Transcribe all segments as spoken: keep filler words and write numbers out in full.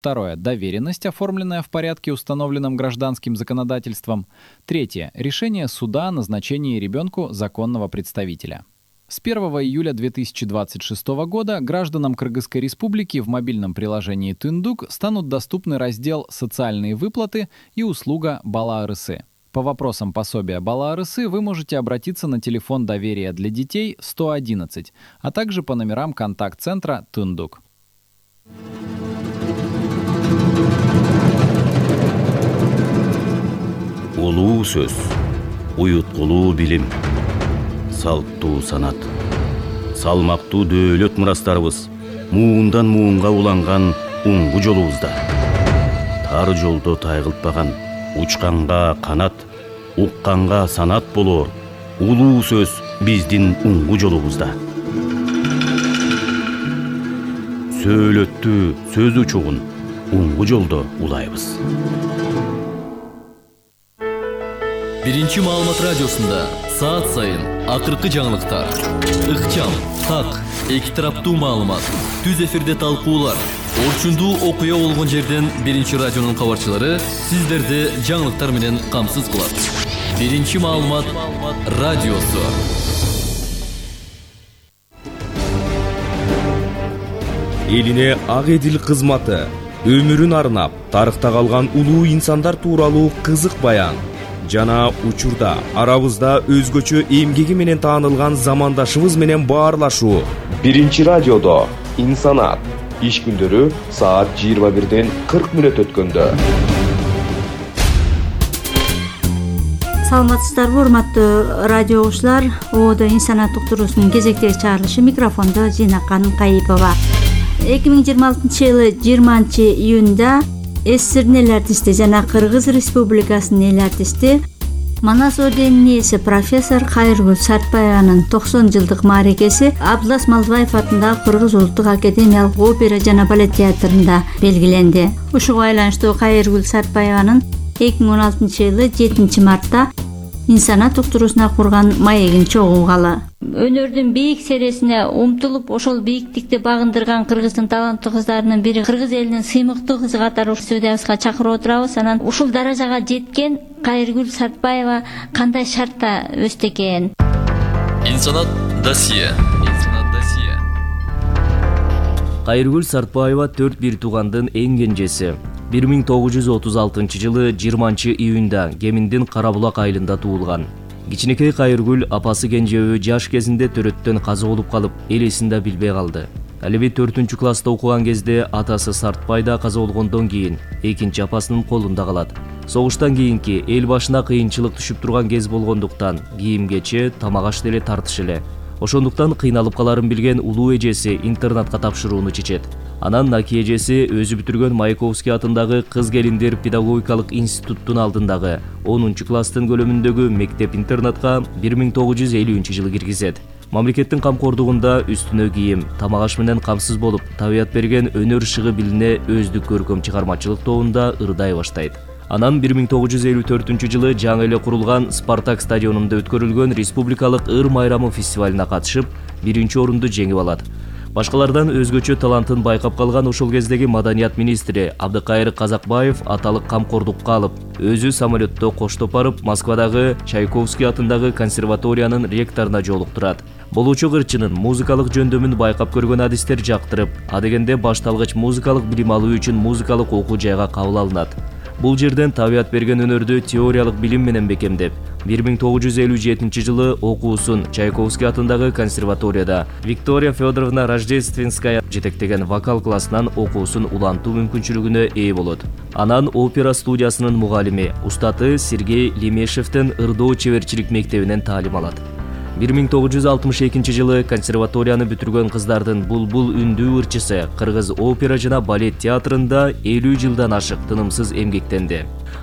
Второе. Доверенность, оформленная в порядке, установленном гражданским законодательством. Третье. Решение суда о назначении ребенку законного представителя. С первого июля две тысячи двадцать шестого года гражданам Кыргызской Республики в мобильном приложении Түндүк станут доступны раздел «Социальные выплаты» и услуга «Бала арысы». По вопросам пособия Бала арысы вы можете обратиться на телефон доверия для детей сто одиннадцать, а также по номерам контакт-центра Түндүк. Улуу сөз, уюткулуу билим, салттуу санат, салмактуу дөөлөт мурастарыбыз муундан муунга уланган уңгу жолубузда. Тар жолдо тайгылтпаган, учканга канат, укканга санат болоор улуу сөз биздин уңгу жолубузда. Сөөлөттүү сөз учугун уңгу жолдо улайбыз. Биринчи маалымат радиосунда саат сайын акыркы жаңылыктар, ыкчам, так, эки тараптуу маалымат, түз эфирде талкуулар, орчундуу окуя болгон жерден Биринчи радионун кабарчылары сиздерди жаңылыктар менен камсыз кылат. Биринчи маалымат радиосу. Элине ак эдил кызматы, өмүрүн арнап, тарыхта калган улуу инсандар тууралуу кызык баян жана учурда арабызда өзгөчө эмгеги менен таанылган замандашыбыз менен баарлашуу. Биринчи радиодо инсанат иш күндөрү саат жыйырма бирден кырк мүнөт өткөндө. Саламатсыздарбы, урматтуу радио угуучулар? Ободо инсанат уктуруусунун кезектеги чыгарылышы, микрофондо Зинакан Кайыпова. эки миң жыйырма алтынчы жылы жыйырманчы июнда СССРдин эл артисти жана Кыргыз Республикасынын эл артисти, Манас орденинин ээси профессор Кайыргүл Сартбаеванын токсон жылдык мааракеси Абдылас Малдыбаев атындагы Кыргыз улуттук академиялык опера жана балет театрында белгиленди. Ушуга байланыштуу Кайыргүл Сартбаеванын эки миң он алтынчы жылы жетинчи мартта инсанат уктуруусуна курган маегин чогулгалы. Өнөрдүн бийик сересине умтулуп, ошол бийиктикти багындырган Кыргыздын таланттуу кыздарынын бири, Кыргыз элинин сыймыктуу кызы катары студиябызга чакырып отурабыз. Анан ушул даражага жеткен Кайыргүл Сартбаева кандай шартта өстү экен? Инсанат досье. Инсанат досье. Кайыргүл Сартбаева төрт бир туугандын эң кенжеси. бир миң тогуз жүз отуз алтынчы жылы жыйырманчы июнда Кеминдин Карабулак айылында туулган. Кичинекей Кайыргүл апасы кенжеби жаш кезинде төрөттөн каза болуп калып, эл эсин да билбей калды. Ал эми төртүнчү класста окуган кезде атасы Сартбай да каза болгондон кийин экинчи апасынын колунда калат. Согуштан кийинки эл башына кыйынчылык түшүп турган кез болгондуктан кийим-кече, тамак-аш деле тартыш эле. Ошондуктан кыйналып каларын билген улуу эжеси интернатка тапшырууну чечет. Анан Наки эжеси өзү бүтүргөн Маяковский атындагы Кыз келиндер педагогикалык институттун алдындагы онунчу класстын көлөмүндөгү мектеп-интернатка бир миң тогуз жүз элүүнчү жылы киргизет. Мамлекеттин камкордугунда үстүнө кийим, тамак-аш менен камсыз болуп, табият берген өнөр шыгы билине өздүк көркөм чыгармачылык тобунда ырдай баштайт. Анан бир миң тогуз жүз элүү төртүнчү жылы жаңы эле курулган Спартак стадионунда өткөрүлгөн Республикалык ыр майрамы фестивалына катышып, биринчи орунду жеңип алат. Башкалардан өзгөчө талантын байкап калган ошол кездеги маданият министри Абдыкайыр Казакбаев аталык камкордукка алып, өзү самолетто коштоп барып, Москвадагы Чайковский атындагы консерваториянын ректоруна жолуктурат. Болуучу кырчынын музыкалык жөндөмүн байкап көргөн адистер жактырып, адегенде башталгыч музыкалык билим алуу үчүн музыкалык окуу жайга кабыл алынат. Бул жерден табият берген өнөрдү теориялык билим менен бекемдеп, бир миң тогуз жүз элүү жетинчи жылы окуусун Чайковский атындагы консерваторияда Виктория Федоровна Рождественская жетектеген вокал классынан окуусун улантуу мүмкүнчүлүгүнө ээ болот. Анан опера студиясынын мугалими, устаты Сергей Лемешевдин ырдоо чеберчилик мектебинен таалим алат. бир миң тогуз жүз алтымыш экинчи жылы консерваторияны бүтүргөн кыздардын булбул үндүү ырчысы Кыргыз опера жана балет театрында элүү жылдан ашык тынымсыз эмгектенди.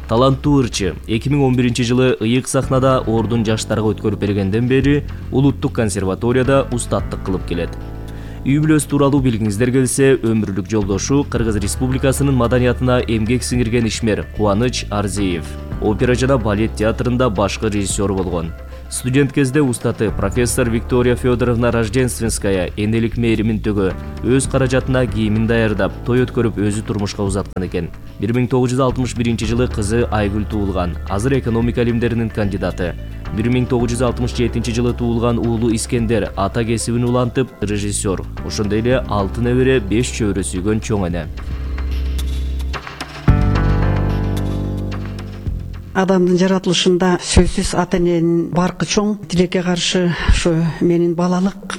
Таланттуу ырчы эки миң он биринчи жылы ыйык сахнада ордун жаштарга өткөрүп бергенден бери улуттук консерваторияда устаттык кылып келет. Үй бүлөсү тууралуу билгиңиздер келсе, өмүрлүк жолдошу Кыргыз Республикасынын маданиятына эмгек сиңирген ишмер Кубаныч Арзиев опера жана балет театрында башкы режиссер болгон. Студент кезде устаты профессор Виктория Федоровна Рождественская энелик мээримин төгө өз каражатына кийимин даярдап, той өткөрүп өзү турмушка узаткан экен. бир миң тогуз жүз алтымыш биринчи жылы кызы Айгүл туулган. Азыр экономика илимдеринин кандидаты. бир миң тогуз жүз алтымыш жетинчи жылы туулган уулу Искендер ата кесибин улантып, режиссер. Ошондой эле алты небере, беш чөбөрө сүйгөн чоң эне. Адамдын жаратылышында сөзсүз ата эненин баркы чоң. Тилекке каршы ушу менин балалык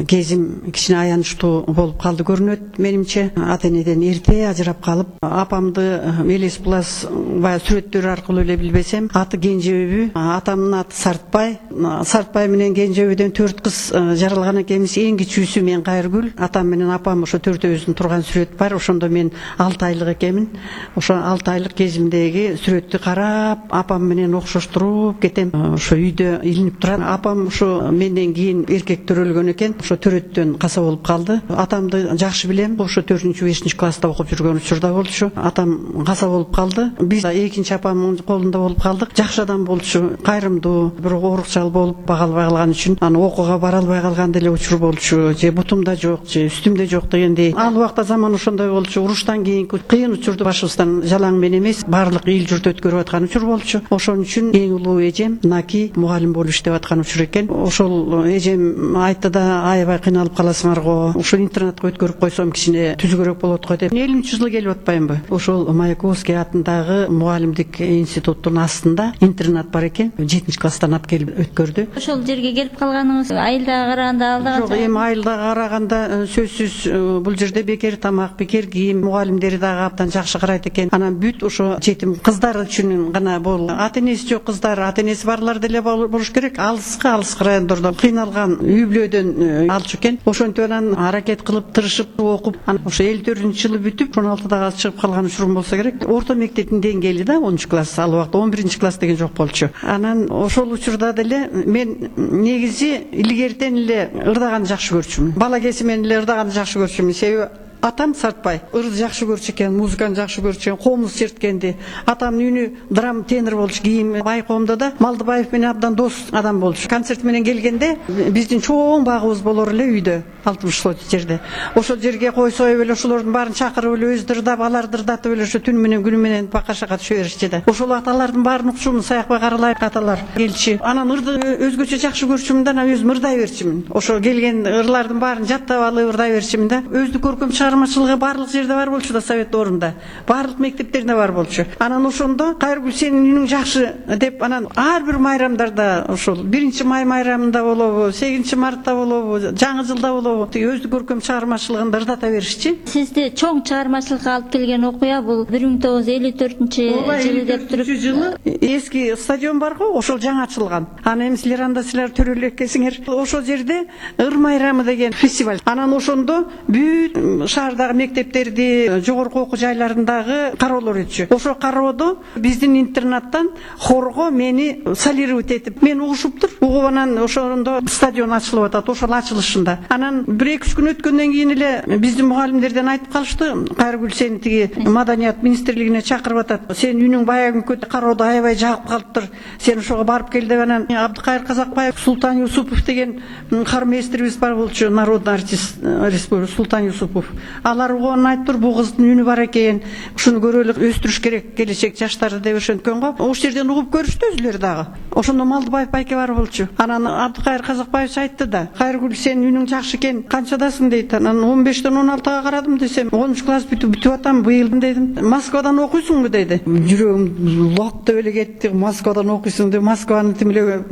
кезим кичине аянычтуу болуп калды көрүнөт менимче. Ата энеден эрте ажырап калып, апамды Элес Булас баягы сүрөттөр аркылуу эле билбесем, аты Кенжебүй, атамдын аты Сартбай. Сартбай менен Кенжебүйдөн төрт кыз жаралган экенбиз. Эң кичүүсү мен Кайыргүл. Атам менен апам ошо төртөөбүздүн турган сүрөт бар. Ошондо мен алты айлык экенмин. Ошо алты айлык кезимдеги сүрөттү карап, апам менен окшоштуруп кетем. Ошо үйдө илинип турат. Апам ошо менден кийин эркек төрөлгөн экен. Ошо төрөттөн каза болуп калды. Атамды жакшы билем. Ошо төртүнчү бешинчи класста окуп жүргөн учурда болчу. Атам каза болуп калды. Биз экинчи апамдын колунда болуп калдык. Жакшы адам болчу, кайрымдуу, бирок оорукчал болуп багалбай калган үчүн аны окууга бара албай калган деле учур болчу. Же бутумда жок, же үстүмдө жок дегендей. Ал убакта заман ошондой болчу. Уруштан кийинки кыйын учурду башыбыздан жалаң менен эмес, баардык эл журт өткөрүп аткан учур болчу. Ошон үчүн эң улуу эжем Наки мугалим болуп иштеп аткан учур экен. Ошол эжем айтты да, аябай кыйналып каласыңар го. Ошо интернатка өткөрүп койсом кичине түзүгөрөөк болот го деп. элүүнчү жылы келип атпаймынбы? Ошол Маяковский атындагы мугалимдик институттун астында интернат бар экен. жетинчи класстан алып келип өткөрдү. Ошол жерге келип калганыңыз айылдага караганда алдыга жок, эми айылдага караганда сөзсүз бул жерде бекер тамак, бекер кийим, мугалимдери дагы абдан жакшы карайт экен. Анан бүт ошо жетим кыздар үчүн гана бол. Ата энеси жок кыздар, ата энеси барлар деле болуш керек. Алыска алыска райондордон кыйналган үй бүлөдөн алчу экен. Ошентип анан аракет кылып, тырышып окуп, ошо элүү төртүнчү жылы бүтүп, он алтыда чыгып калган учурум болсо керек. Орто мектептин деңгээли да онунчу класс, ал убакта он биринчи класс деген жок болчу. Анан ошол учурда деле мен негизи илгертен эле ырдаганды жакшы көрчүмүн. Бала кезимден эле ырдаганды жакшы көрчүмүн. Себеби атам Сартбай ырды жакшы көрчү экен, музыканы жакшы көрчү экен, комуз черткенди. Атамдын үнү драм тенор болчу. Кийин Байкоомдо да Малдыбаев менен абдан дос адам болчу. Концерт менен келгенде биздин чоң багыбыз болор эле үйдө, алтымыш жерде. Ошол жерге кой союп эле ошолордун баарын чакырып эле өздөрү ырдап, аларды ырдатып эле ошо түн менен күнү менен бакашага түшө беришчи да. Ошол аталардын баарын укчумун, Саякбай Каралаев аталар келчи. Анан ырды өзгөчө жакшы көрчүмүн да, өзүм ырдай берчимин. Ошо келген ырлардын баарын жаттап алып ырдай берчимин да. Өздүк көркөм чыгармачылыгы барлык жерде бар болчу да, Совет доорунда. Барлык мектептерде бар болчу. Анан ошондо Кайыргүл сенин үнүң жакшы деп, анан ар бир майрамдарда, ошол биринчи май майрамында болобу, сегизинчи мартта болобу, жаңы жылда болобу, өздүк көркөм чыгармачылыгын ырдата беришчи. Сизди чоң чыгармачылыкка алып келген окуя бул бир миң тогуз жүз элүү төртүнчү жылы деп туруп, жылы эски стадион бар го, ошол жаңы ачылган. Аны эми силер анда силер төрөлө экенсиңер. Ошол жерде ыр майрамы деген фестиваль. Анан ошондо бүт шаардагы мектептерди, жогорку окуу жайларындагы кароолор өтчү. Ошо кароодо биздин интернаттан хорго мени солировать этип, мен угушуптур. Угуп анан ошондо стадион ачылып атат, ошол ачылышында. Анан бир эки үч күн өткөндөн кийин эле биздин мугалимдерден айтып калышты, Кайыргүл сени тиги Маданият министрлигине чакырып атат. Сен үнүң баягы күнкө кароодо аябай жагып калыптыр. Сен ошого барып кел деп. Анан Абдыкайыр Казакбаев, Султан Юсупов деген кармейстерибиз бар болчу, народный артист республика Султан Юсупов. Алар угуп айтыптыр, бул кыздын үнү бар экен, ушуну көрөлүк, өстүрүш керек келечек жаштарды деп ошенткөн го. Ошол жерден угуп көрүштү өзүлөрү дагы. Ошондо Малдыбаев байке бар болчу. Анан Абдыкайыр Казакбаев айтты да, Кайыргүл сенин үнүң жакшы экен, канчадасың дейт. Анан он бештен он алтыга карадым десем, онунчу класс бүтүп бүтүп атам быйыл дедим. Москвадан окуйсуңбу деди. Жүрөгүм лок деп эле кетти. Москвадан окуйсуң деп, Москваны тим эле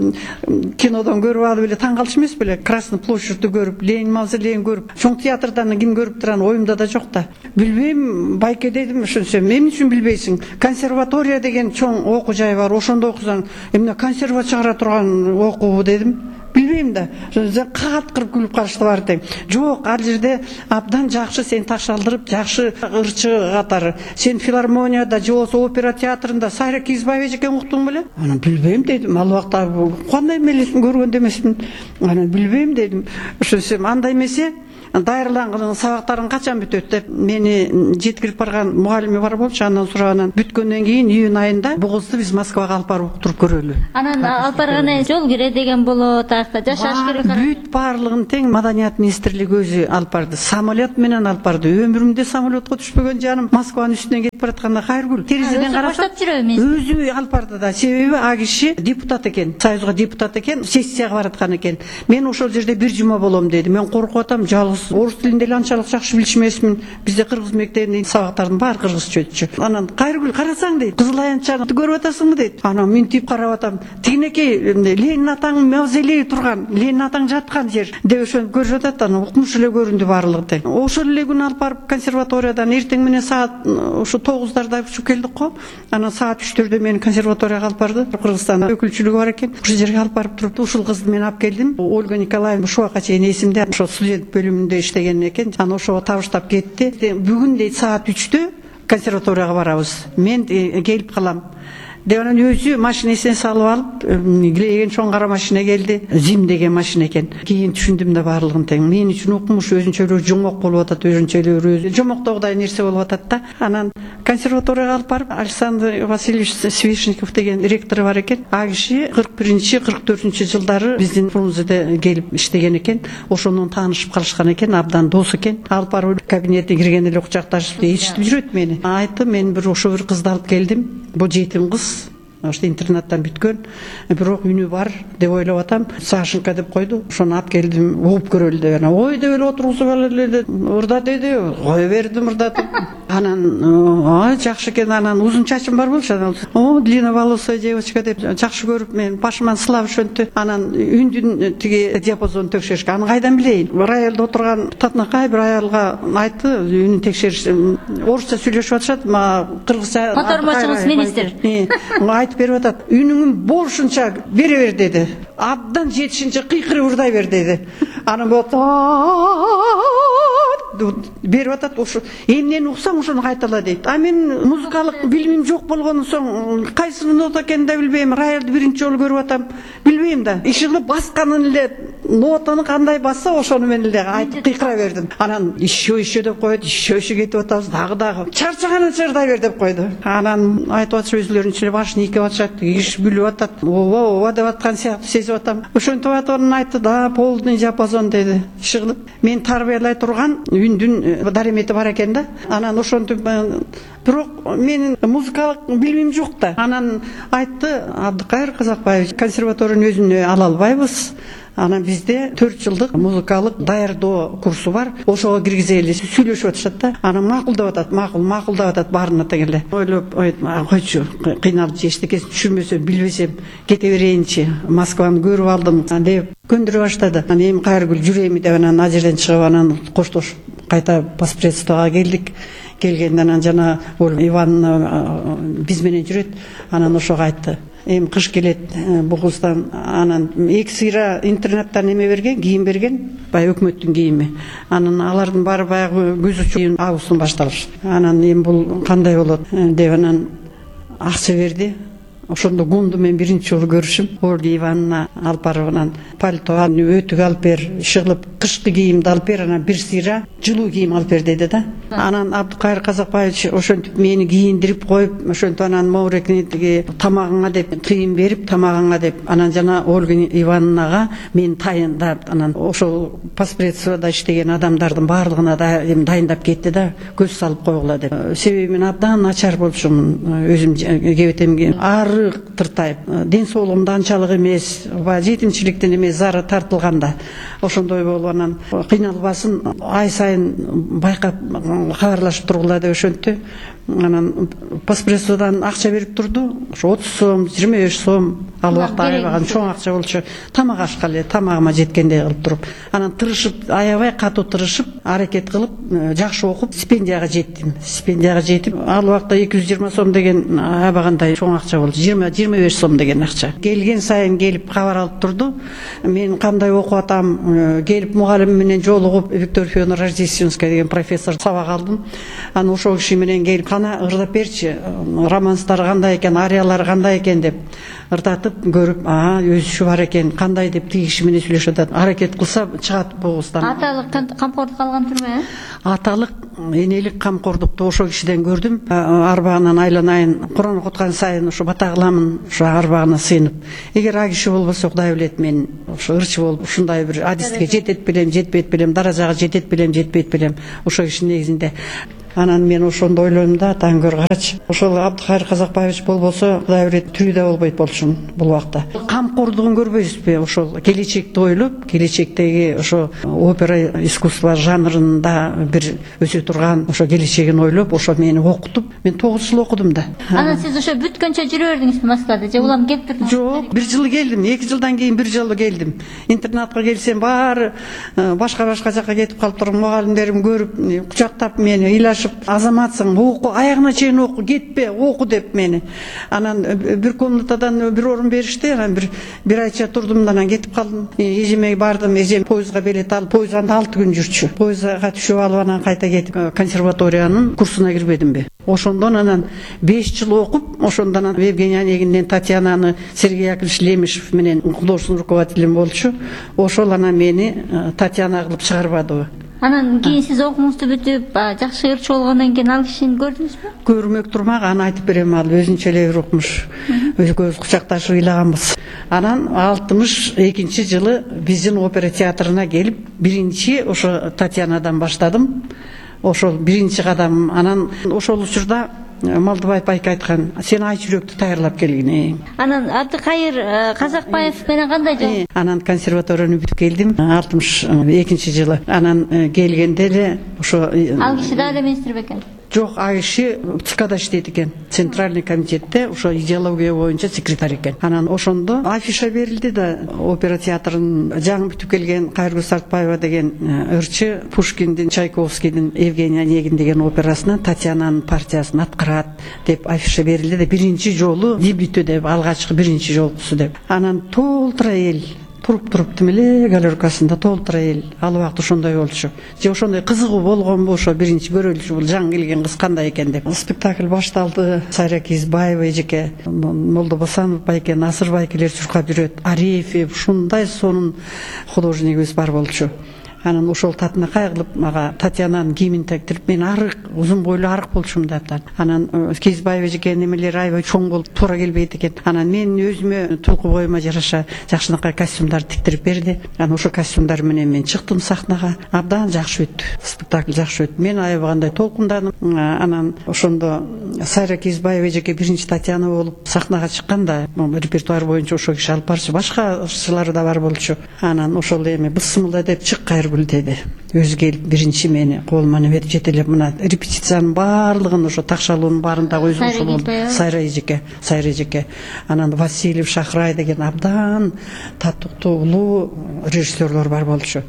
кинодон көрүп алып эле таң калыш эмес беле? Красный площадьты көрүп, Ленин мавзолейин көрүп, чоң театрдан ким көрүптүр, аны оюмда да жок да. Билбейм, байке дедим, ошонсем, эмне үчүн билбейсиң? Консерватория деген чоң окуу жай бар, ошондо окусаң, эмне консерва чыгара турган окуу дедим. Билбейм да. Кат кырып күлүп калышты бар тең. Жок, ал жерде абдан жакшы, сен ташалдырып, жакшы ырчы катары. Сен филармонияда, же болбосо опера театрында Сайра Кизбаева экен уктуң беле? Анан билбейм дедим. Ал убакта кандай мелесин көргөн демесмин. Анан билбейм дедим. Ошонсем, анда эмесе даярланган сабактарың качан бүтөт деп мени жеткирип барган мугалими бар болчу. Андан сураган бүткөндөн кийин июнь айында бу кызды биз Москвага алып барып уктуруп көрөлү. Анан алып барганда жол кире деген болот, аяқта жашаш керек. Бүт баарлыгын тең Маданият министрлиги өзү алып барды. Самолет менен алып барды. Өмүрүмдө самолетко түшпөгөн жаным Москванын үстүнөн кетип баратканда Кайыргүл терезеден карасам өзү алып барды да. Себеби а киши депутат экен, союзга депутат экен, сессияга бараткан экен. Мен ошол жерде бир жума болом деди. Мен коркуп атам, жалгыз орус тилинде эле анчалык жакшы билишмесмин. Бизде кыргыз мектебинин сабактардын баары кыргызча өтчү. Анан Кайыргүл карасаң дейт, Кызыл Аянтчаны көрүп атасыңбы дейт. Анан минтип карап атам. Тигинекей Ленин атаңын мавзолейи турган, Ленин атаң жаткан жер деп ошону көрүп атат. Анан укмуш эле көрүндү баарлыгы тең. Ошол эле күнү алып барып консерваториядан эртең менен саат ошо тогуздарда учуп келдик го. Анан саат үчтөрдө мени консерваторияга алып барды. Кыргызстан өкүлчүлүгү бар экен. Ошол жерге алып барып туруп, ушул кызды мен алып келдим. Ольга Николаевна ушул убакка чейин эсимде, ошо студент бөлүмүндө иштеген экен. Анан ошого табыштап кетти. Бүгүн дейт саат үчтө консерваторияга барабыз. Мен келип калам. Деп анан өзү машинесин салып алып, килеген чоң кара машина келди. Зим деген машина экен. Кийин түшүндүм да баарлыгын тең. Мен үчүн укмуш өзүнчө эле жомок болуп атат, өзүнчө эле өзү жомоктогудай нерсе болуп атат да. Анан консерваторияга алып барып, Александр Васильевич Свешников деген ректору бар экен. А киши кырк биринчи кырк төртүнчү жылдары биздин Фрунзеде келип иштеген экен. Ошондон таанышып калышкан экен, абдан дос экен. Алып барып кабинетке кирген эле кучакташып ээрчитип жүрөт мени. Айтты, мен бир ошо бир кызды алып келдим. Бул жетим кыз. Ошто интернаттан бүткөн, бирок үнү бар деп ойлоп атам. Сашенька деп койду. Ошону алып келдим, угуп көрөлү деп. Ой деп эле отургузуп алып урда деди. Кое бердим урдатып. Анан ай жакшы экен. Анан узун чачым бар болчу. Анан о длинноволосая девочка деп жакшы көрүп мен башыман сылап ошентти. Анан үндүн тиги диапазонун текшеришке. Аны кайдан билейин? Роялда отурган татынакай бир аялга айтты, үнүн текшериш. Орусча сүйлөшүп атышат, мага кыргызча. Котормочуңуз министр. Берип атат. Үнүңүн болушунча бере бер деди. Абдан жетишинче кыйкырып урдай бер деди. Анан болот берип атат. Ошо эмнени уксаң ошону кайтала дейт. А мен музыкалык билимим жок болгондон соң кайсы нота экенин да билбейм. Роялды биринчи жолу көрүп атам. Билбейм да. Иши кылып басканын эле нотаны кандай басса ошону мен эле айтып кыйкыра бердим. Анан еще еще деп коет, еще еще кетип атабыз, дагы дагы. Чарчаганын чырдай бер деп койду. Анан айтып атыш өзлөрүнчө эле башын ийкеп атышат, киш күлүп атат. Ооба, ооба деп аткан сыяктуу сезип атам. Ошентип атып анан айтты да, полный диапазон деди. Иши кылып мен тарбиялай турган үндүн даремети бар экен да. Анан ошентип бирок менин музыкалык билимим жок да. Анан айтты, Абдыкайыр Казакбаевич, консерваториянын өзүнө ала албайбыз. Анан бизде төрт жылдык музыкалык даярдоо курсу бар. Ошого киргизели сүйлөшүп атышат да. Анан макулдап атат, макул, макулдап атат баарына тең эле. Ойлоп, койчу, кыйналып эчтекесин түшүнбөсөм, билбесем кете берейинчи. Москваны көрүп алдым деп көндүрө баштады. Анан эми Кайыргүл жүрөйүн деп анан ал жерден чыгып анан коштошуп кайта паспредствого келдик. Келгенден анан жана Ивановна биз менен жүрөт. Анан ошого айтты. Эми кыш келет, бул кыздан анан эки сыйра интернаттан эме берген, кийим берген, бай өкмөттүн кийими. Анан алардын баары баягы көз учуу августтан башталыш. Анан эми бул кандай болот деп анан акча берди. Ошондо Гунду мен биринчи жолу көрүшүм. Ольга Ивановна алып барып анан пальто, өтүк алып бер, ишыгылып кышкы кийимди алып бер, анан бир сыйра жылуу кийим алып бер деди да. Анан Абдыкайыр Казакбаевич ошентип мени кийиндирип коюп, ошентип анан моурекни тиги тамагыңа деп кийим берип, тамагыңа деп анан жана Ольга Ивановнага мен тайындап анан ошол паспредствода иштеген адамдардын баардыгына да эми дайындап кетти да, көз салып койгула деп. Себеби мен абдан начар болчумун, өзүм кебетемге ары тыртайып, ден соолугум да анчалык эмес, баягы жетимчиликтен эмес зары тартылганда ошондой болуп анан кыйналбасын, ай сайын байкап кабарлашып тургула деп ошентти. Анан паспредстводан акча берип турду. Ошо отуз сом, жыйырма беш сом ал убакта аябаган чоң акча болчу. Тамак ашка эле, тамагыма жеткендей кылып туруп. Анан тырышып, аябай катуу тырышып, аракет кылып, жакшы окуп, стипендияга жеттим. Стипендияга жетип, ал убакта эки жүз жыйырма сом деген аябагандай чоң акча болчу. жыйырма жыйырма беш сом деген акча. Келген сайын келип кабар алып турду. Мен кандай окуп атам, келип мугалим менен жолугуп, Виктор Федоровна Рождественская деген профессор сабак калдым. Анан ошол киши менен келип, кана ырдап берчи, романстар кандай экен, ариялар кандай экен деп ырдатып көрүп, а өзүшү бар экен, кандай деп тиги киши менен сүйлөшүп атат. Аракет кылса чыгат бугуздан. Аталык камкордук алган турбу? Аталык, энелик камкордукту ошол кишиден көрдүм. Арбагынан айланайын, Куран окуткан сайын ошо бата кыламын, ошо арбагына сыйынып. Эгер а киши болбосо, Кудай билет, мен ошо ырчы болуп ушундай бир адиске жетет белем, жетпейт белем, даражага жетет белем, жетпейт белем. Ошол киши негизинде. Анан мен ошондо ойлойм да, таңгөр карачы. Ошол Абдыкайыр Казакбаевич болбосо, Кудай билет, тирүүдө болбойт болчумун бул убакта. Камкордугун көрбөйбүзбү? Ошол келечекти ойлоп, келечектеги ошо опера искусство жанрында бир өсө турган ошо келечегин ойлоп, ошо мени окутуп, мен тогуз жыл окудум да. Анан сиз ошо бүткөнчө жүрө бердиңизби Москвада? Же улам келип турдуңузбу? Жок, бир жыл келдим, эки жылдан кийин бир жолу келдим. Интернатка келсем баары башка-башка жакка кетип калып турган мугалимдерим көрүп, кучактап мени, ыйлашып, азаматсың, оку, аягына чейин оку, кетпе, оку деп мени. Анан бир комнатадан бир орун беришти, анан бир бир айча турдум, анан кетип калдым. Эжеме бардым, эжем поездга билет алып, поездда алты күн жүрчү. Поездга түшүп алып, анан кайта кетип консерваториянын курсуна кирбедимби. Ошондон анан беш жыл окуп, ошондон Евгений Онегинден Татьянаны Сергей Яковлевич Лемешев менен художественный руководителем болчу. Ошол анан мени Татьяна кылып чыгарбадыбы. Анан кийин сиз окууңузду бүтүп, жакшы ырчы болгондон кийин ал кишини көрдүңүзбү? Көрмөк турмак, аны айтып берем, ал өзүнчө эле бир окумуш. Экөөбүз кучакташып ыйлаганбыз. Анан алтымыш экинчи жылы биздин опера театрына келип, биринчи ошо Татьянадан баштадым. Ошол биринчи кадам. Анан ошол учурда Малдыбаев байке айткан, сен ай жүрөктү даярлап келгин. Анан Абдыкайыр Казакбаев менен кандай жол? Анан консерваторияны бүтүп келдим алтымыш экинчи жылы. Анан келгенде эле ошо ал киши да эле министр бекен? Жок, а киши ЦКда иштейт экен. Центральный комитетте ошо идеология боюнча секретарь экен. Анан ошондо афиша берилди да, опера театрынын жаңы бүтүп келген Кайыргүл Сартбаева деген ырчы Пушкиндин, Чайковскийдин Евгений Онегин деген операсынан Татьянанын партиясын аткарат деп афиша берилди да, биринчи жолу дебюту деп, алгачкы биринчи жолкусу деп. Анан толтура эл туруп-туруп тим эле галеркасында толтура эл. Ал убакыт ошондой болчу. Же ошондой кызыгуу болгонбу, ошо биринчи көрөлүшү, бул жаңы келген кыз кандай экен деп. Спектакль башталды. Сайра Кизбаева эжеке, Молдо Босанов байке, Насыр байкелер чуркап жүрөт. Арефьев, ушундай сонун художникибиз бар болчу. Анан ошол татына кайгылып, мага Татьянанын кийимин тектирип, мен арык, узун бойлуу арык болчумун деп. Анан Кизбаева эжеке немелери аябай чоң болуп туура келбейт экен. Анан мен өзүмө тулку боюма жараша жакшынакай костюмдар тиктирип берди. Анан ошо костюмдар менен мен чыктым сахнага. Абдан жакшы өттү. Спектакль жакшы өттү. Мен аябагандай толкундадым. Анан ошондо Сайра Кизбаева эжеке биринчи Татьяна болуп сахнага чыкканда, репертуар боюнча ошо киши алып барчу. Башка ырчылары да бар болчу. Анан ошол эми бысымылда деп чык Кайыргүл деди. Өзү келип биринчи мени колума неметип жетелеп, мына репетициянын баардыгын ошо такшалуунун баарындагы өзү ошол болду. Сайра эжеке, Сайра эжеке. Анан Васильев, Шахрай деген абдан татыктуу улуу режиссерлор бар болчу.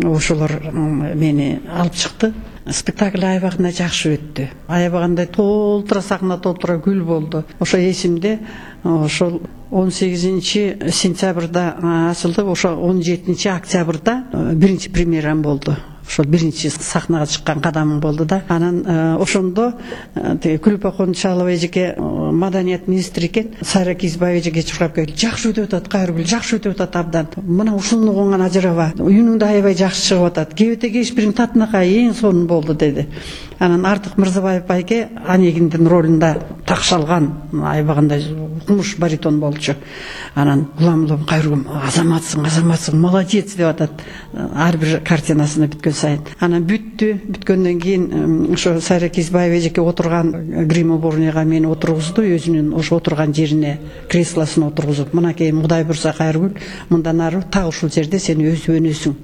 Ошолор мени алып чыкты. Спектакль аябагында жакшы өттү. Аябагандай толтура сахна, толтура гүл болду. Ошо эсимде. Ошол он сегизинчи сентябрда ачылды, ошо он жетинчи октябрда биринчи премьерам болду. Ошол биринчи сахнага чыккан кадамым болду да. Анан ошондо Күлүп Кончалова эжеке маданият министри экен. Сайра Кизбаева эжеке чуркап келип, жакшы өтүп атат Кайыргүл, жакшы өтүп атат абдан. Мына ушуну угунган ажыраба. Үнүңдө аябай жакшы чыгып атат. Кебете кеш бирин татынакай эң сонун болду деди. Анан Артык Мырзабаев байке Онегиндин ролунда такшалган аябагандай укмуш баритон болчу. Анан улам улам Кайыргүл, азаматсың, азаматсың, молодец деп атат. Ар бир картинасына бүткөн сайын. Анан бүттү. Бүткөндөн кийин ошо Сайра Кизбаева эжеке отурган грим уборныйга мени отургузду, өзүнүн ошо отурган жерине, креслосуна отургузуп, мынакей Кудай буйрса Кайыргүл, мындан ары так ушул жерде сен өсүп өнөсүң.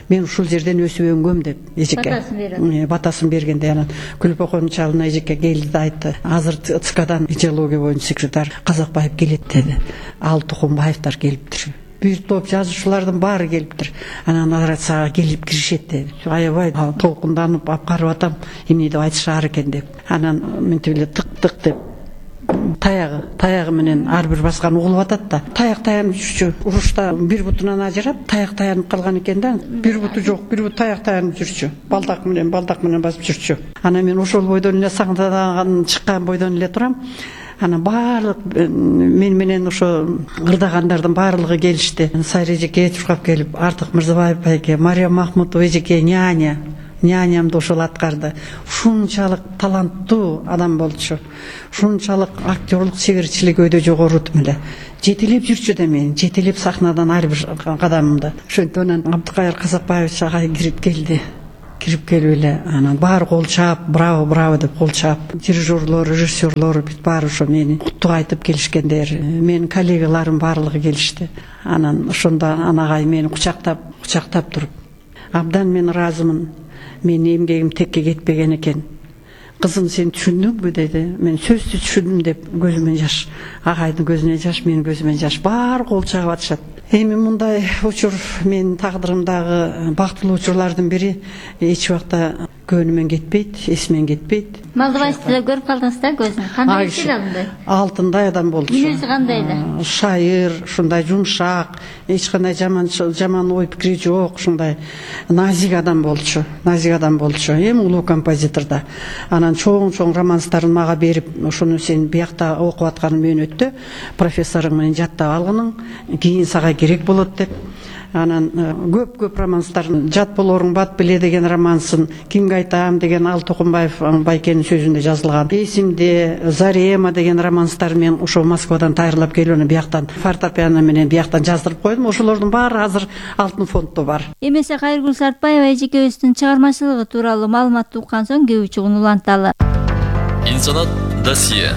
Мен ушул жерден өсүп өнгөм деп эжеке батасын берген. Батасын бергенде анан Күлүп Кончалова эжеке келди да айтты, азыр ЦКдан идеология боюнча секретарь Казакбаев келет деди. Ал Тукумбаевдер келиптир. Бир топ жазуучулардын баары келиптир. Анан алар сага келип киришет деп. Аябай толкунданып, апкарып атам, эмне деп айтышаар экен деп. Анан мынтип эле тык-тык деп таягы таягы менен ар бир баскан угулуп атат да. Таяк таянып жүрчү. Урушта бир бутунан ажырап таяк таянып калган экен да. Бир буту жок, бир бут таяк таянып жүрчү. Балдак менен балдак менен басып жүрчү. Анан мен ошол бойдон эле саңдаган чыккан бойдон эле турам. Анан баардык мен менен ошо ырдагандардын баардыгы келишти. Сайра эжеке чуркап келип, Артык Мырзабаев байке, Мария Махмутова эжеке, няня, нянямды ошол аткарды. Ушунчалык таланттуу адам болчу. Ушунчалык актерлук чеберчилиги өйдө жогору тим эле. Жетелеп жүрчү да мен, жетелеп сахнадан ар бир кадамымды. Ошентип анан Абдыкайыр Казакбаевич агай кирип келди. Кирип келип эле анан баары кол чаап, браво, браво деп кол чаап, дирижерлор, режиссерлор бүт баары ошо мени куттук айтып келишкендер. Менин коллегаларым баардыгы келишти. Анан ошондо анагай мени кучактап, кучактап туруп, абдан мен ыраазымын. Менин эмгегим текке кетпеген экен. Кызым, сен түшүндүңбү деди. Мен сөзсүз түшүндүм деп көзүмөн жаш. Агайдын көзүнөн жаш, менин көзүмөн жаш. Баары кол чаап атышат. Эми мындай учур менин тагдырымдагы бактылуу учурлардын бири эч убакта көңүмөн кетпейт, эсимен кетпейт. Малдыбаевди көрүп калдыңыз да көзүн? Кандай чыгылды? Алтындай адам болчу. Мүнөзү кандай эле? Шайыр, ушундай жумшак, эч кандай жаман жаман ой пикири жок, ушундай назик адам болчу. Назик адам болчу. Эми улуу композитор да. Анан чоң-чоң романстарын мага берип, ошону сен биякта окуп аткан мөөнөттө профессоруң менен жаттап алгының, кийин сага керек болот деп. Анан көп-көп романстарын, жат болоруң бат биле деген романсын, кимге айтам деген Ал Токумбаев байкенин сөзүндө жазылган. Эсимде, Зарема деген романстар мен ошо Москвадан тайырлап келүүнү бияктан фортепиано менен бияктан жаздырып койдум. Ошолордун баары азыр алтын фонддо бар. Эмесе Кайыргүл Сартбаева эжекебиздин чыгармачылыгы тууралуу маалымат уккан соң кээ учугун уланталы. Инсанат досье.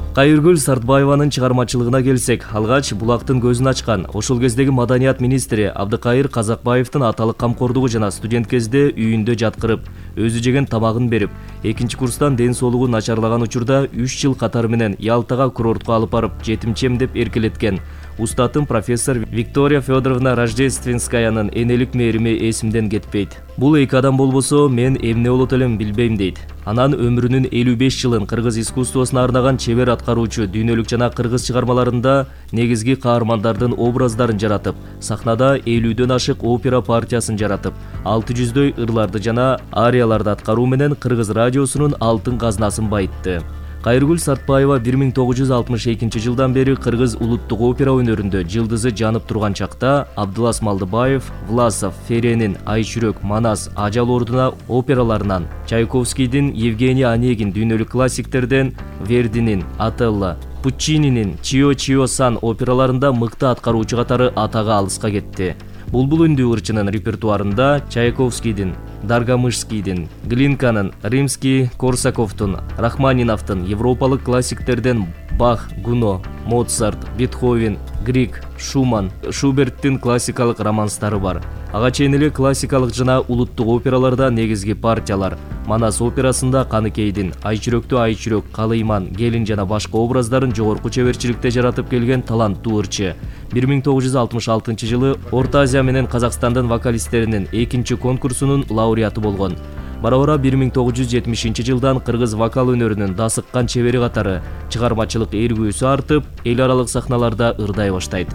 Кайыргүл Сартбаеванын чыгармачылыгына келсек, алгач булактын көзүн ачкан ошол кездеги маданият министри Абдыкайыр Казакбаевдин аталык камкордугу жана студент кезде үйүндө жаткырып, өзү жеген тамагын берип, экинчи курстан ден соолугу начарлаган учурда үч жыл катары менен Ялтага курортко алып барып, жетимчем деп эркелеткен устатым профессор Виктория Федоровна Рождественскаянын энелик мээрими эсимден кетпейт. Бул эки адам болбосо мен эмне болот элем билбейм дейт. Анан өмүрүнүн элүү беш жылын кыргыз искусствосуна арнаган чебер аткаруучу дүйнөлүк жана кыргыз чыгармаларында негизги каармандардын образдарын жаратып, сахнада элүүдөн ашык опера партиясын жаратып, алты жүздөй ырларды жана арияларды аткаруу менен кыргыз радиосунун алтын казынасын байытты. Кайыргүл Сартбаева бир миң тогуз жүз алтымыш экинчи жылдан бери кыргыз улуттук опера өнөрүндө жылдызы жанып турган чакта Абдылас Малдыбаев, Власов, Ференин Айчүрөк, Манас, Ажал ордуна операларынан, Чайковскийдин Евгений Онегин дүйнөлүк классиктерден, Вердинин Отелло, Пуччининин Чио-Чио-сан операларында мыкты аткаруучу катары атага алыска кетти. Булбул үндүү ырчынын репертуарында Чайковскийдин, Даргамышскийдин, Глинканын, Римский, Корсаковдун, Рахманиновдун, европалык классиктерден Бах, Гуно, Моцарт, Бетховен, Грик, Шуман, Шуберттин классикалык романстары бар. Ага чейин эле классикалык жана улуттук операларда негизги партиялар. Манас операсында Каныкейдин, Айчүрөктү Айчүрөк, Калыйман, Келин жана башка образдарын жогорку чеберчиликте жаратып келген таланттуу ырчы. бир миң тогуз жүз алтымыш алтынчы жылы Орто Азия менен Казакстандын вокалисттеринин экинчи конкурсунун лауреаты болгон. Бара-бара бир миң тогуз жүз жетимишинчи жылдан кыргыз вокал өнөрүнүн дасыккан чебери катары чыгармачылык эргүүсү артып, эл аралык сахналарда ырдай баштайт.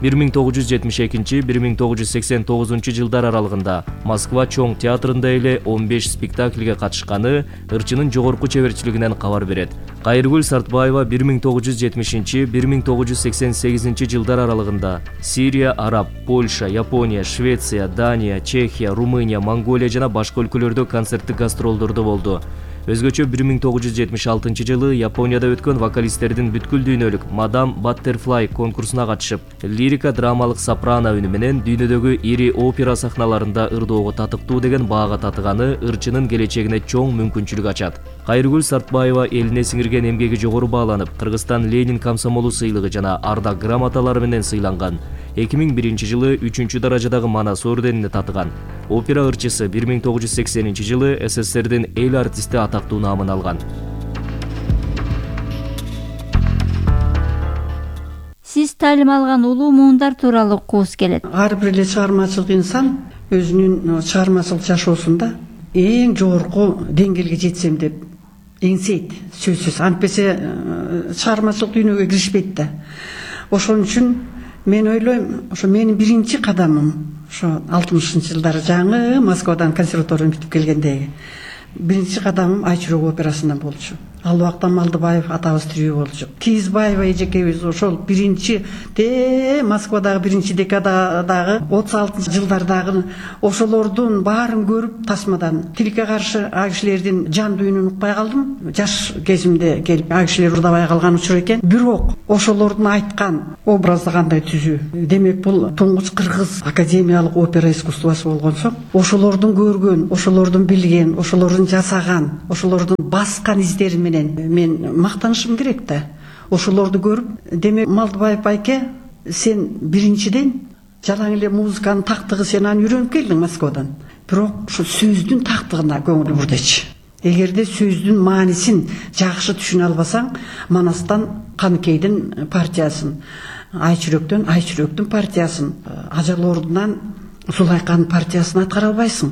бир миң тогуз жүз жетимиш экинчи — бир миң тогуз жүз сексен тогузунчу жылдар аралыгында Москва чоң театрында эле он беш спектакльге катышканы ырчынын жогорку чеберчилигинен кабар берет. Кайыргүл Сартбаева бир миң тогуз жүз жетимишинчи — бир миң тогуз жүз сексен сегизинчи жылдар аралыгында Сирия, Араб, Польша, Япония, Швеция, Дания, Чехия, Румыния, Монголия жана башка өлкөлөрдө концерттик гастролдордо болду. Өзгөчө бир миң тогуз жүз жетимиш алтынчы жылы Японияда өткөн вокалисттердин бүткүл дүйнөлүк Мадам Баттерфлай конкурсуна катышып, лирика драмалык сопрано үнү менен дүйнөдөгү ири опера сахналарында ырдоого татыктуу деген баага татыганы ырчынын келечегине чоң мүмкүнчүлүк ачат. Кайыргүл Сартбаева элине сиңирген эмгеги жогору бааланып, Кыргызстан Ленин комсомолу сыйлыгы жана ардак грамоталары менен сыйланган. эки миң биринчи жылы үчүнчү даражадагы Манас орденине татыган. Опера ырчысы бир миң тогуз жүз сексенинчи жылы СССРдин эл артисти атактуу наамын алган. Сиз таалим алган улуу муундар тууралуу уккубуз келет. Ар бир эле чыгармачылык инсан өзүнүн чыгармачылык жашоосунда эң жогорку деңгээлге жетсем деп эңсейт сөзсүз, антпесе чыгармачылык дүйнөгө киришпейт да. Ошон үчүн мен ойлойм, ошо менин биринчи кадамым ошо алтымышынчы жылдары жаңы Москвадан консерваторияны бүтүп келгендеги биринчи кадамым Айчүрөк операсынан болчу. Ал убакта Малдыбаев атабыз тирүү болчу. Кийизбаева эжекебиз ошол биринчи те Москвадагы биринчи декададагы отуз алтынчы жылдардагы ошолордун баарын көрүп тасмадан тилекке каршы а кишилердин жан дүйнүн укпай калдым. Жаш кезимде келип а кишилер урдабай калган учур экен. Бирок ошолордун айткан образды кандай түзүү? Демек бул туңгуч кыргыз академиялык опера искусствосу болгон соң, ошолордун көргөн, ошолордун билген, ошолордун жасаган, ошолордун баскан издери менен мен мактанышым керек да. Ошолорду көрүп, демек Малдыбаев байке, сен биринчиден жалаң эле музыканын тактыгы сен аны үйрөнүп келдиң Москвадан. Бирок ошо сөздүн тактыгына көңүл бурдечи. Эгерде сөздүн маанисин жакшы түшүнө албасаң, Манастан Каныкейдин партиясын, Айчүрөктөн Айчүрөктүн партиясын, Ажал ордунан Зулайканын партиясын аткара албайсың.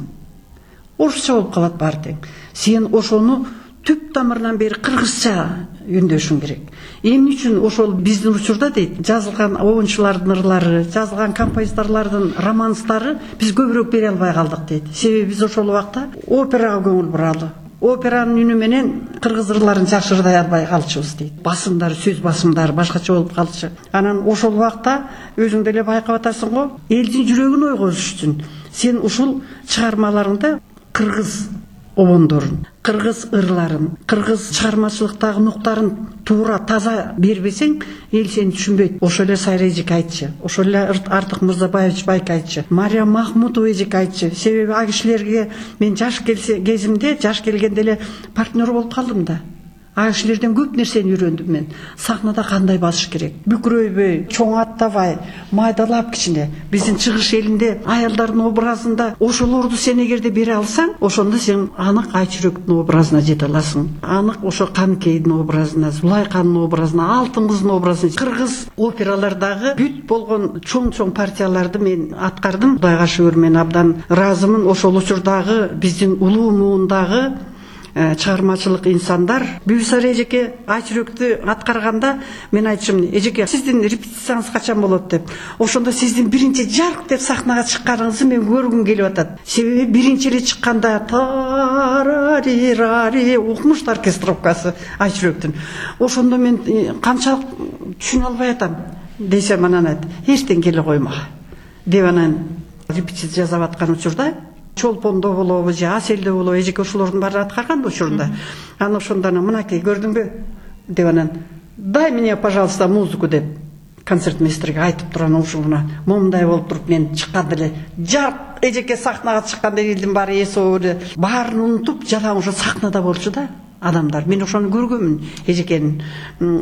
Орусча болуп калат баары тең. Сен ошону түп тамырынан бери кыргызча үндөшүң керек. Эмне үчүн ошол биздин учурда дейт, жазылган оюнчулардын ырлары, жазылган композиторлордун романстары биз көбүрөөк бере албай калдык дейт. Себеби биз ошол убакта операга көңүл буралы. Операнын үнү менен кыргыз ырларын жакшы ырдай албай калчубуз дейт. Басымдары, сөз басымдары башкача болуп калчу. Анан ошол убакта өзүң деле байкап атасың го, элдин жүрөгүн ойгозуш үчүн сен ушул чыгармаларыңда кыргыз обондорун, кыргыз ырларын, кыргыз чыгармачылыктагы нуктарын туура таза бербесең, эл сени түшүнбөйт. Ошол эле Сайра эжеке айтчы, ошол эле Артык Мырзабаевич байке айтчы, Мария Махмутова эжеке айтчы. Себеби а кишилерге мен жаш кезимде, жаш келгенде эле партнер болуп калдым да. А кишилерден көп нерсени үйрөндүм мен. Сахнада кандай басыш керек, бүкүрөйбөй, чоң аттабай, майдалап кичине. Биздин чыгыш элинде аялдардын образында ошолорду сен эгерде бере алсаң, ошондо сен анык Айчүрөктүн образына жете аласың. Анык ошо Каныкейдин образына, Зулайканын образына, Алтын кыздын образына. Кыргыз опералардагы бүт болгон чоң-чоң партияларды мен аткардым. Кудайга шүгүр, мен абдан ыраазымын. Ошол учурдагы биздин улуу муундагы чыгармачылык инсандар Бибисара эжеке Айчүрөктү аткарганда мен айтчым, эжеке, сиздин репетицияңыз качан болот деп. Ошондо сиздин биринчи жарк деп сахнага чыкканыңызды мен көргүм келип атат. Себеби биринчи эле чыкканда тарари укмуш оркестровкасы Айчүрөктүн. Ошондо мен канчалык түшүнө албай атам десем, анан айт, эртең келе койма деп, анан репетиция жасап аткан учурда Чолпондо болобу же Аселде болобу, эжеке ошолордун баарын аткарган учурунда. Аны ошондо мынакей көрдүңбү деп, анан дай мне, пожалуйста, музыку деп концертмейстерге айтып турган ушугуна момундай болуп туруп мен чыкканда эле жарк эжеке сахнага чыкканда элдин баары эсоо эле баарын унутуп жалаң ошо сахнада болчу да адамдар. Мен ошону көргөмүн эжекенин.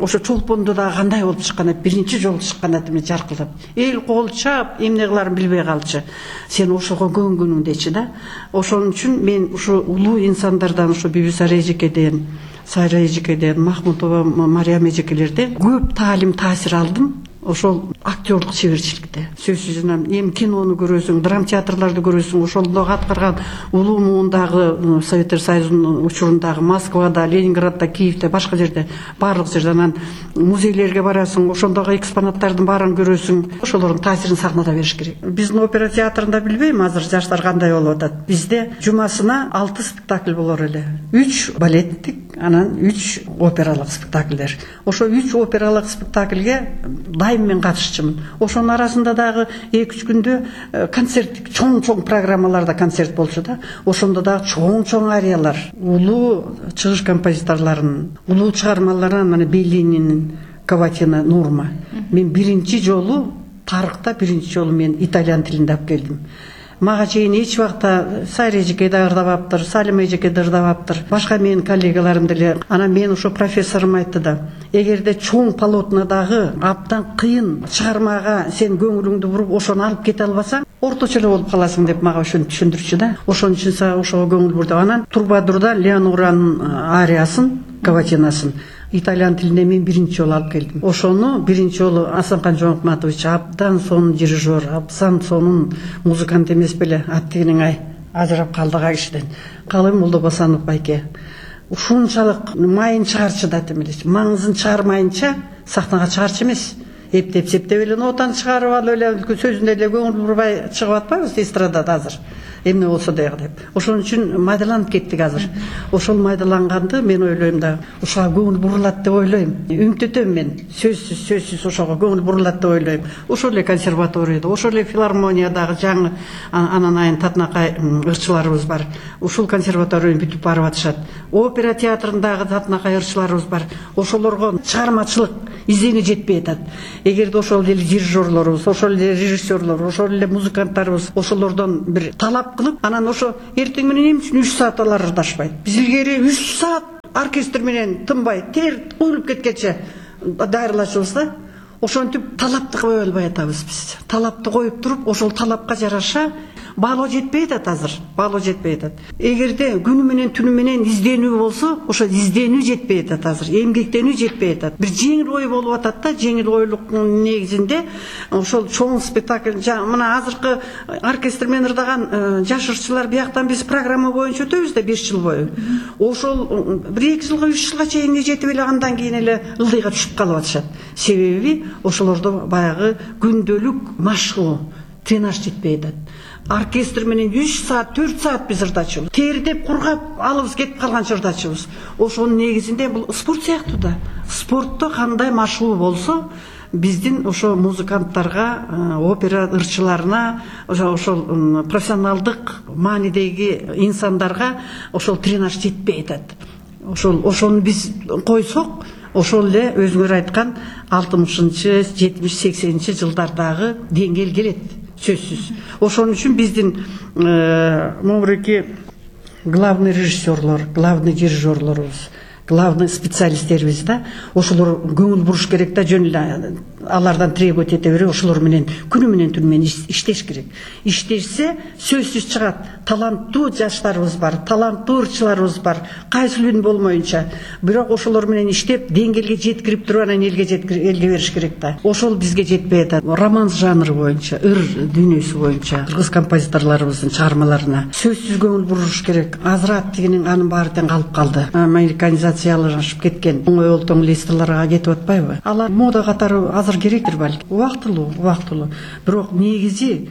Ошо Чолпондо да кандай болуп чыккан, биринчи жолу чыкканда мен жаркылдап. Эл кол чап, эмне кыларын билбей калчу. Сен ошого көнгүнүң дечи да. Ошон үчүн мен ушу улуу инсандардан, ушу Бибисара эжекеден, Сайра эжекеден, Махмутова, Мариям эжекелерден көп таалим, таасир алдым. Ошол актерлук чеберчиликте. Сөзсүз эми кинону көрөсүң, драма театрларды көрөсүң, ошолдо аткарган улуу муундагы Советтер Союзунун учурундагы Москвада, Ленинградда, Киевде, башка жерде, баардык жерде, анан музейлерге барасың, ошондогу экспонаттардын баарын көрөсүң. Ошолордун таасирин сахнада бериш керек. Биздин опера театрында билбейм азыр жаштар кандай болуп атат. Бизде жумасына алты спектакль болор эле. үч балеттик, анан үч опералык спектакльдер. Ошо үч опералык спектакльге дайым мен катышчумун. Ошонун арасында дагы эки үч күндө концерттик чоң-чоң программаларда концерт болчу да. Ошондо дагы чоң-чоң ариялар, улуу чыгыш композиторлорунун улуу чыгармаларынан, мына Беллининин Каватина Нурма. Мен биринчи жолу тарыхта биринчи жолу мен итальян тилинде алып келдим. Мага чейин эч убакта Сайра эжеке да ырдабаптыр, Салима эжеке да ырдабаптыр, башка менин коллегаларым деле. Анан мен ошо профессорум айтты да, эгерде чоң полотнодагы абдан кыйын чыгармага сен көңүлүңдү буруп ошону алып кете албасаң, орточо эле болуп каласың деп мага ошону түшүндүрчү да. Ошон үчүн ошого көңүл бурдум. Анан Турбадурда Леонуранын ариясын, Каватинасын итальян тилинде мен биринчи жолу алып келдим. Ошону биринчи жолу Асанкан Жооматович абдан сонун дирижер, абдан сонун музыкант эмес беле, аттигиниң ай ажырап калдык а кишиден. Калым Молдобасанов байке. ушунчалык майын чыгарчы да эмелечи, маңызын чыгармайынча сахнага чыгарчы эмес. Эптеп септеп эле нотаны чыгарып алып эле сөзүндө эле көңүл бурбай чыгып атпайбыз эстрадада азыр. Эмне болсо дагы деп. Ошон үчүн майдаланып кеттик азыр. Ошол майдаланганды мен ойлойм да, ошого көңүл бурулат деп ойлойм. Үмүттөтөм мен. Сөзсүз, сөзсүз ошого көңүл бурулат деп ойлойм. Ошол эле консерваторияда, ошол эле филармониядагы жаңы анан айын татынакай ырчыларыбыз бар. Ушул консерваторияны бүтүп барып атышат. Опера театрындагы татынакай ырчыларыбыз бар. Ошолорго чыгармачылык издене жетпей атат. Эгерде ошол эле дирижерлорубуз, ошол эле режиссерлор, ошол эле музыканттарыбыз ошолордон бир талап кылып, анан ошо эртең менен эмне үчүн үч саат алар ырдашпайт? Биз илгери үч саат оркестр менен тынбай, тер куюлуп кеткенче дайырлачубыз да. Ошентип талапты кое албай атабыз биз. Талапты коюп туруп, ошол талапка жараша баалоо жетпей атат азыр. Баалоо жетпей атат. Эгерде күнү менен түнү менен изденүү болсо, ошо изденүү жетпей атат азыр. Эмгектенүү жетпей атат. Бир жеңил ой болуп атат да, жеңил ойлуктун негизинде ошол чоң спектакль, мына азыркы оркестр менен ырдаган жаш ырчылар бияктан биз программа боюнча өтөбүз да беш жыл бою. Ошол бир эки жылга, үч жылга чейин жетип эле андан кийин эле ылдыйга түшүп калып атышат. Себеби ошолордо баягы күндөлүк машыгуу, тренаж жетпей атат. Оркестр менен үч саат, төрт саат биз ырдачубуз. Тердеп кургап алыбыз кетип калганча ырдачубуз. Ошонун негизинде бул спорт сыяктуу да. Спортто кандай машыгуу болсо, биздин ошо музыканттарга, опера ырчыларына, ошол профессионалдык маанидеги инсандарга ошол тренаж жетпей атат. Ошол ошону биз койсок, ошол эле өзүңөр айткан алтымышынчы, жетимиш, сексенинчи жылдардагы деңгээл келет, сөзсүз. Ошон үчүн биздин могуреки главный режиссерлор, главный дирижерлорубуз, главный специалисттерибиз да, ошолор көңүл буруш керек да, жөн эле алардан требовать эте берип, ошолор менен күнү менен түнү менен иштеш керек. Иштешсе, сөзсүз чыгат. Таланттуу жаштарыбыз бар, таланттуу ырчыларыбыз бар, кайсылын болмоюнча. Бирок ошолор менен иштеп, деңгээлге жеткирип туруп, анан элге элге бериш керек да. Ошол бизге жетпей атат. Романс жанры боюнча, ыр дүйнөсү боюнча, кыргыз композиторлорубуздун чыгармаларына сөзсүз көңүл буруш керек. Азырат дегенин анын баары тең калып калды. Американизациялашып кеткен оңой олтоң листаларга кетип атпайбы? Алар мода катары азыр керектир балки. Убактылуу, убактылуу. Бирок негизи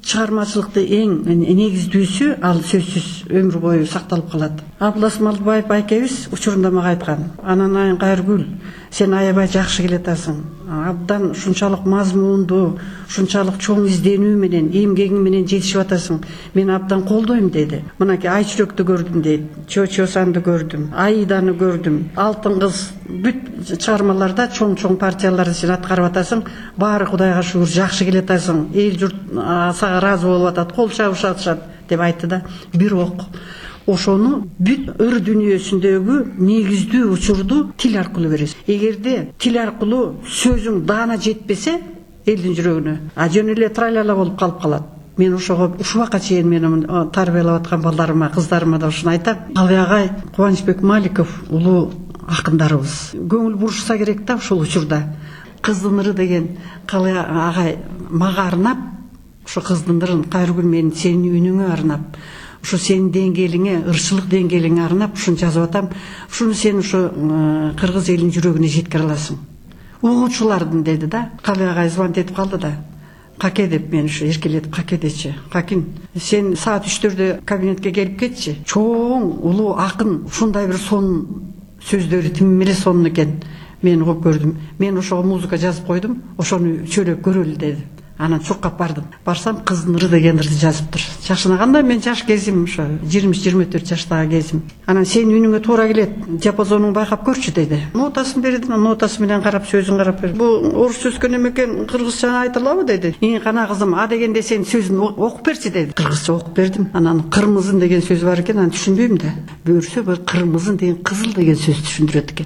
чыгармачылыкты эң негиздүүсү ал сөзсүз өмүр бою сакталып калат. Абылас Малдыбаев байкебиз учурунда мага айткан: "Ананайын Кайыргүл, сен аябай жакшы келатасың. Абдан ушунчалык мазмундуу, ушунчалык чоң изденүү менен, эмгегиң менен жетишип атасың. Мен абдан колдойм" деди. Мынакей Айчүрөктү көрдүм дейт, Чо-Чосанды көрдүм, Аиданы көрдүм, Алтын кыз, бүт чыгармаларда чоң-чоң партияларды сен аткарып атасың. Баары Кудайга шүгүр жакшы келатасың. Эл журт сага ыраазы болуп атат, кол чабышып атышат деп айтты да. Бирок ошону бүт ыр дүйнөсүндөгү негиздүү учурду тил аркылуу бересиз. Эгерде тил аркылуу сөзүң даана жетпесе элдин жүрөгүнө, а жөн эле тралала болуп калып калат. Мен ошого ушубакка чейин менин тарбиялап аткан балдарыма, кыздарыма да ушуну айтам. Калый агай, Кубанычбек Маликов улуу акындарыбыз көңүл бурушса керек да ушул учурда. Кыздын ыры деген Калый агай мага арнап, ушу кыздын ырын Кайыргүл менин сенин үнүңө арнап, ушу сенин деңгээлиңе, ырчылык деңгээлиңе арнап ушуну жазып атам. Ушуну сен ушу кыргыз элинин жүрөгүнө жеткире аласың. Угуучулардын деди да. Калый агай звонить этип калды да. Каке деп мен ушу эркелетип каке дечи. Какин, сен саат үчтөрдө кабинетке келип кетчи. Чоң улуу акын ушундай бир сонун сөздөрү тим эле сонун экен. Мен угуп көрдүм. Мен ошого музыка жазып койдум. Ошону чөйлөп көрөлү деди. Анан чуккап бардым. Барсам кыздын ыры деген ырды жазыптыр. Жашынаганда мен жаш кезим ошо жыйырма үч жыйырма төрт жаштагы кезим. Анан сенин үнүңө туура келет, диапазонуңду байкап көрчү деди. Нотасын берди, нотасы менен карап, сөзүн карап берди. Бу орусча өскөн экен, кыргызча айтылабы деди. Ии кана кызым, а дегенде сен сөзүн окуп берчи деди. Кыргызча окуп бердим. Анан кырмызын деген сөз бар экен, аны түшүнбөйм да. Бөрсө бир кырмызын деген кызыл деген сөз түшүндүрөт экен.